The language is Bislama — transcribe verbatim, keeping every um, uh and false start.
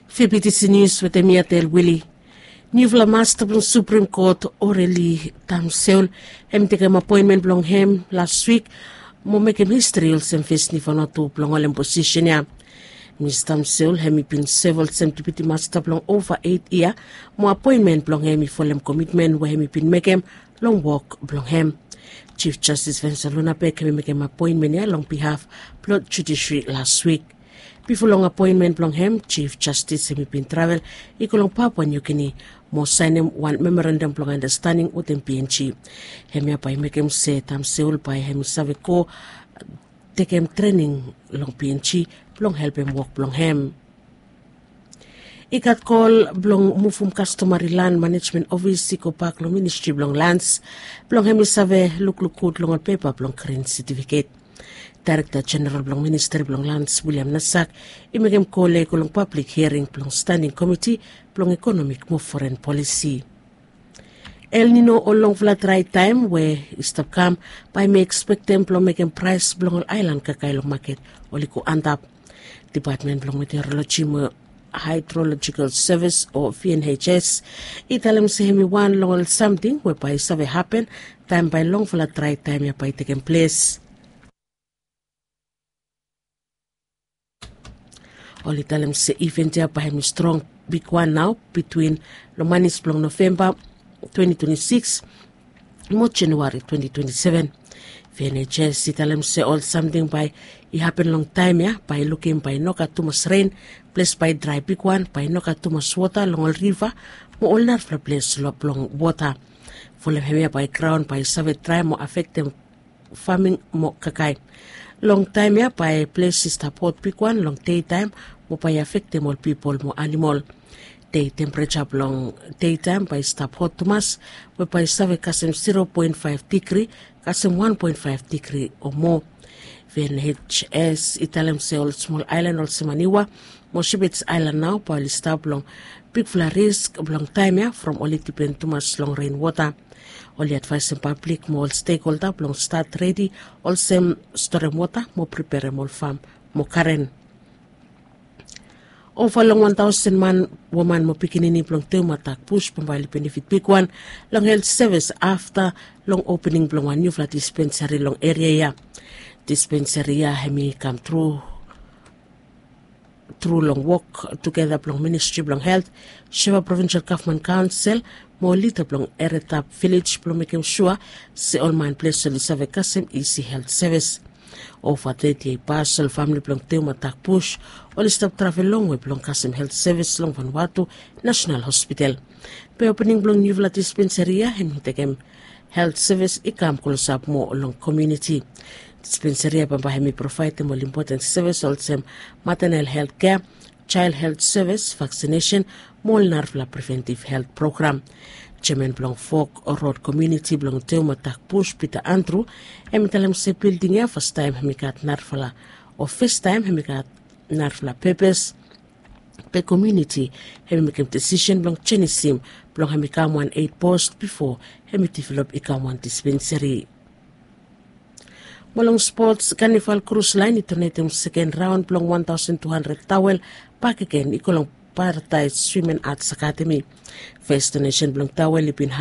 Fibitisi nius wetem mi atel wili. Niufala masta blong suprim kot, oreli tamseul, hem i tekem apoenmen blong hem las wik mo mekem histri olsem fes nifanatu blong holem posisen ya. Mis tamseul hem i bin sev olsem dipiti masta blong ova eit yia, mo apoenmen blong hem i folem komitmen we hem i bin mekem long wok blong hem. Jif jastis vensa lunabek hem i mekem apoenmen ya long bihaf blong judisri las wik. Bifo long apoenmen blong hem, jif jastis hem i bin travel i go long Papua Niugini mo saenem wan memorandam blong anastaning wetem PNG. Hemia bae i mekem se tamseul bae hem i save go tekem trening long PNG blong helpem wok blong hem. I gat kol blong muvum kastomari lan manejmen ofis i gobak long ministri blong lans blong hem i save lukluk gud long ol pepa blong grin setifiket. Daerekta jeneral blong ministri blong lans Wiliam Nasak i mekem kol ya i go long pablik hiering blong staning komiti blong ekonomik mo foren polisi. El Nino o longfala drae taem we i stap kam bae mi ekspektem blong mekem praes blong ol aelan kakae long maket oli go antap. Depatmen blong meteoroloji mo haedrolojikal sevis o VNHS i talem se hem i wan long ol samting we bae i save hapen taem bae longfala drae taem ya bae i tekem ples. Oli talem se iven ya bae hem i strong bigwan nao bitwin long manis blong Novemba twenti twenti sikis mo Januari twenti twenti seven. VNHS i talem se ol samting bae i hapen long taem ya bae i lukim bae i no gat tumas ren, ples bae i drae bigwan, bae i no gat tumas wota long ol riva mo ol narafala ples blong wota. Folem hemia bae graon bae i save drae mo afektem faming mo kakae. Long taem ya bae ples i stap hot bigwan long dei taem mo bae i afektem ol pipol mo anamol. Dei tempereja blong dei taem bae i stap hot tumas we bae i save kasem zero poen faef digri kasem wan poen faef digri o moa. VNHS i talem se ol smol aelan olsem Aniwa mo Shepherds Island nao bae oli stap long bigfala risk blong taem ya from oli dipen tumas long ren wota. Oli advaesem pablik mo ol stekholda blong stat redi olsem storem wota mo preperem ol fam mo garen. Ova long wan taosen man, woman mo pikinini blong Teuma Dak Bush bambae oli benefit bigwan long helt sevis afta long opening blong wan niufala dispensari long eria ya. Dispensari ya hem i kam tru tru long wok tugeta blong ministri blong helt, Sheva Provinsal Gavman Kaonsel mo lida blong Eretap Vilej blong mekem sua se ol man ples oli save kasem isi helt sevis. Ova teti yia i pas ol famili blong Teuma Dak Bush oli stap travel longwe blong kasem helt sevis long Vanuatu Nasenal Hospital. Be opening blong niufala dispensari ya hem i tekem helt sevis i kam klosap moa long komuniti. Dispensari ya bambae hem i provaedem ol impoten sevis olsem matenal helt kea, jael helt sevis, vaksinesen mo ol narafala preventiv helt program. Jeaman blong Fok Rod komuniti blong Teuma Dak Bush, Pita Andru, hem i talem se bilding ya fastaem hem i gat narafala o fastaem hem i gat narafala pepes. Be komuniti hem i mekem desisen blong jenisim blong hem i kam wan eit post bifo hem i develop i kam wan dispensari. Mo long spots, Kanival Krus Laen i donetem seken raon blong wan taosen tu handred tawel bakegen i go long Paradaes Swim en Ats Akademi. Fes donesen blong tawel i bin